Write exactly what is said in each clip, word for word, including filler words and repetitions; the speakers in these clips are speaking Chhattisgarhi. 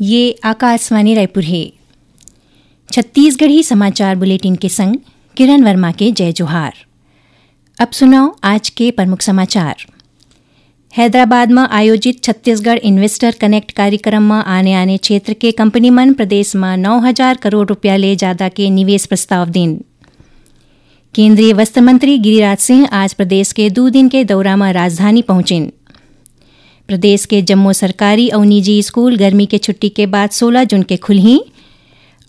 ये आकाशवाणी रायपुर हे। छत्तीसगढ़ी समाचार बुलेटिन के संग किरण वर्मा के जय जोहार। अब सुनव आज के प्रमुख समाचार। हैदराबाद म आयोजित छत्तीसगढ़ इन्वेस्टर कनेक्ट कार्यक्रम म आने-आने क्षेत्र के कंपनी मन प्रदेश म नौ हजार करोड़ रुपया ले जादा के निवेश प्रस्ताव दीन। केंद्रीय वस्त्र मंत्री गिरिराज सिंह आज प्रदेश के दू दिन के दौरा म राजधानी पहुंचिन। प्रदेश के जम्मो सरकारी अउ निजी स्कूल गर्मी के छुट्टी के बाद सोलह जून के खुलही।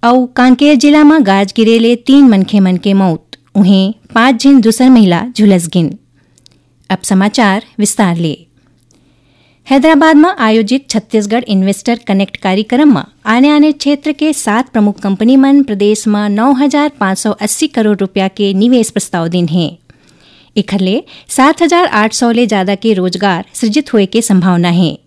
अउ कांकेर जिला म गाज गिरे ले तीन मनखे मन के मौत, उहें पांच झिन दूसर महिला झुलस गिन। अब समाचार विस्तार ले। हैदराबाद म आयोजित छत्तीसगढ़ इन्वेस्टर कनेक्ट कार्यक्रम म आने-आने क्षेत्र के सात प्रमुख कंपनी मन प्रदेश म नौ हजार पाँच सौ अस्सी करोड़ रुपया के निवेश प्रस्ताव दीन हे। एखर ले सात हजार आठ सौ ले जादा के रोजगार सृजित होए के संभावना हे।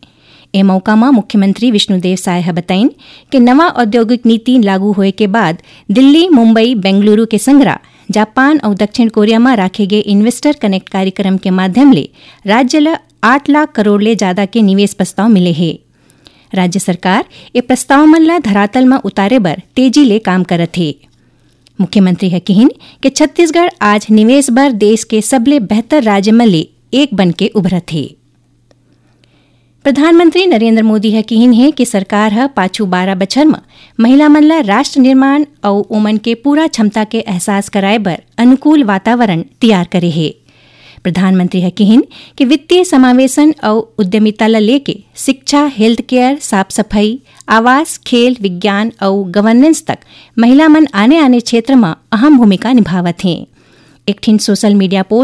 ए मौका म मुख्यमंत्री विष्णुदेव साय ह बताइन के नवा औद्योगिक नीति लागू होए के बाद दिल्ली, मुंबई, बेंगलुरु के संगरा जापान अउ दक्षिण कोरिया म राखे गे इन्वेस्टर कनेक्ट कार्यक्रम के माध्यम ले राज्य ल आठ लाख करोड़ ले जादा के निवेश प्रस्ताव मिले हे। राज्य सरकार ए प्रस्ताव मन ल धरातल म उतारे बर तेजी ले काम करत हे। मुख्यमंत्री ह किहिन कि छत्तीसगढ़ आज निवेश बर देश के सबले बेहतर राज्य मन ले एक बन के उभरत हे। प्रधानमंत्री नरेंद्र मोदी ह किहिन हे कि सरकार ह पाछू बारह बछर म महिला मन ल राष्ट्र निर्माण अउ ओमन के पूरा क्षमता के एहसास कराए बर अनुकूल वातावरण तियार करे हे। प्रधानमंत्री ह किहिन कि वित्तीय समावेशन अउ उद्यमिता ल लेके शिक्षा, हेल्थ केयर, साफ सफाई, आवास, खेल, विज्ञान अउ गवर्नेंस तक महिला मन आने-आने क्षेत्र म अहम भूमिका निभावत हें। एक ठिन सोशल मीडिया पोस्ट